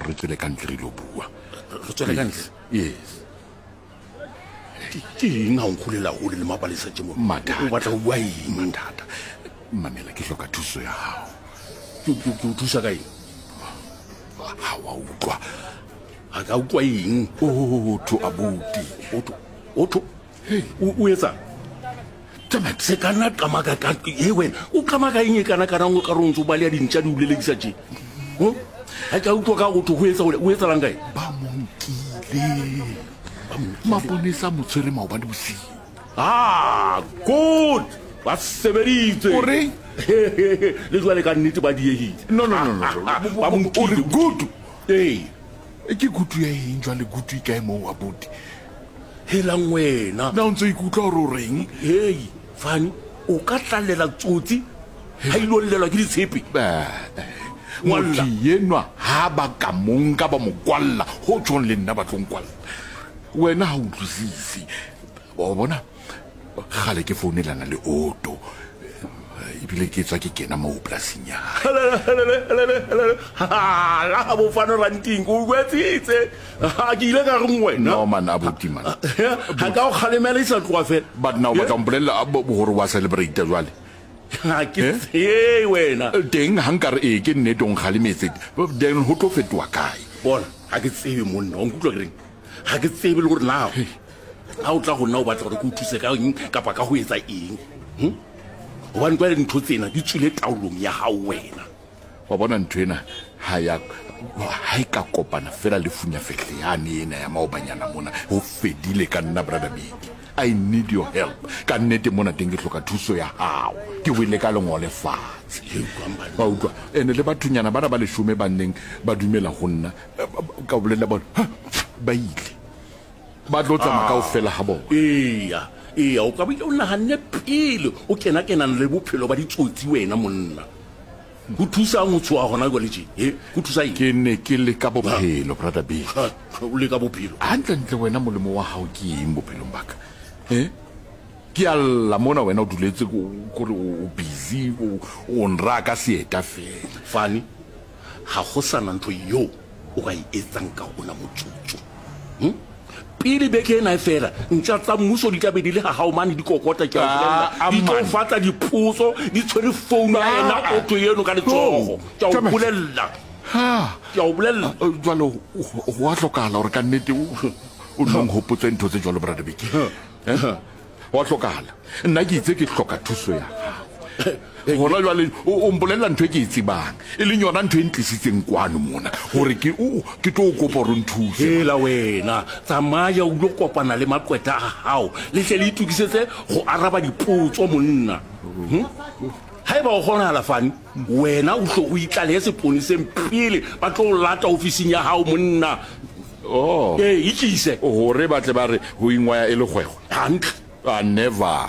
gore re tswele ka ntle re ilo bua. Re tswele ka ntle? Yes. Ke eng ga o nkgolela gole le mapalesa tše mo? Mathata. O batla go bua eng? Mathata. Mamela, ke hloka thuso ya gago. Ke o thusa ka eng? Ga wa utlwa. Ga ka utlwa eng? Otho, abuti. Otho, otho. O etsang? Damn it. Se ka nna qamaka ka e wena. O qamaka eng e kana kana o ka re o ntse o baleya dintša di o lelekisa tše? Ga ka utlwa ka otho go etsa o etsalang kae? Ba mo nkile. Maponesa a mo tshwere maobane bosiu. Ah, good. Ba sebeditse. O reng? Le jwale ka nnete ba diehile. No, no, no, no. Ba mo O re nkile. good. Ee. Ke kutu ya eng jwale kutu e kae moo abuti? Helang wena. Na o ntse o ikutlwa gore o reng? Hei, Fani, o ka tlalela tsotsi ha ilo llelwa ke ditshepe. Motho yenwa ha ba ka mo nka ba mo kwalla, ho tjhong le nna ba tlo nkwalla. Wena ha o utlwisise. Wa bona, kgale ke founelana le Otto. Ebile ke tswa ke kena moo polasing ya hae. Hala bo fano ranting, o jwetsitse. Ha ke ile ka reng wena? No man, abuti man. Ha ka o kgalemela e sa tloha fela. But na o batla ho mpolella gore wa celebrate jwale? Ha ke tsebe wena. Teng ha nka re ee ke nnete o nkgalemetse, then ho tlo fetoha kae? Bona, ha ke tsebe monna, wa nkutlwa ke reng? Ga ke tsebe le gore na ga o tla go nna o batla gore ke o thuse ka eng kapa ka go etsa eng. Gobane jwale dintho tsena di tswile taolong ya gago wena. Wa bona ntho ena ha ya ha e ka kopana fela le funyafehle yane ena ya maobanyana mona, ho fedile ka nna, Brother Biki. I need your help. Ka nnete mona teng ke hloka thuso ya hao. Ke wele ka lengole fatshe. Wa utlwa? Ene le bathonyana bana ba leshome ba neng ba dumela ho nna, ka bolelela bona, ba ile. Ba tlo tsamaya kaofela ha bona. Eya, eya, o ka bile o nahanne pele o kena-kenana le bophelo ba ditsotsi wena monna. Go thusang go tshoga gona jwale tje? He, go thusa eng? Ke ne ke leka bophelo, Brother Bill. Ha, o leka bophelo? Hantlentle wena molemo wa hao ke eng bophelong ba ka? He? Ke a lla mona wena o duletse kore o busy o nraya ka seeta fela. Fani, ga go sa na ntho yeo o ka e etsang ka ona motsotso. Hm? Pele beke ena e fela, ntša tsa mmuso di tla be di le ga gago mane di kokota, ke a o bolelela. Ah, Di tlo man. fatla dipotso, di tshwere founu ya ena Ah, otho eno ka letsogo. Ke a o Thomas. bolelela. Ha. Ke a o bolelela. Ah, Jwale ho a hlokahala hore ka nnete o o nno nhopotse ntho tse jwalo, Brother Biki. Eh? Ho a hlokahala. Nna ke itse ke hloka thuso ya gago. Gona jwale o mpolelela ntho e ke e tsebang, e leng yona ntho e ntlisitseng kwano mona, gore ke ke tlo o kopa gore o nthuse. Hela wena, tsamaya o ilo kopana le maqwetha a gago, le tle le itokisetse go araba dipotso, monna. Hm? Haeba o kgonagala, Fani, wena o hlo o itlalehe seponeseng pele ba tlo o lata ofising ya gago, monna. Oh. Ee, itlise. Gore ba tle ba re go ingwaya e le kgwego. Hantle. Ah, never.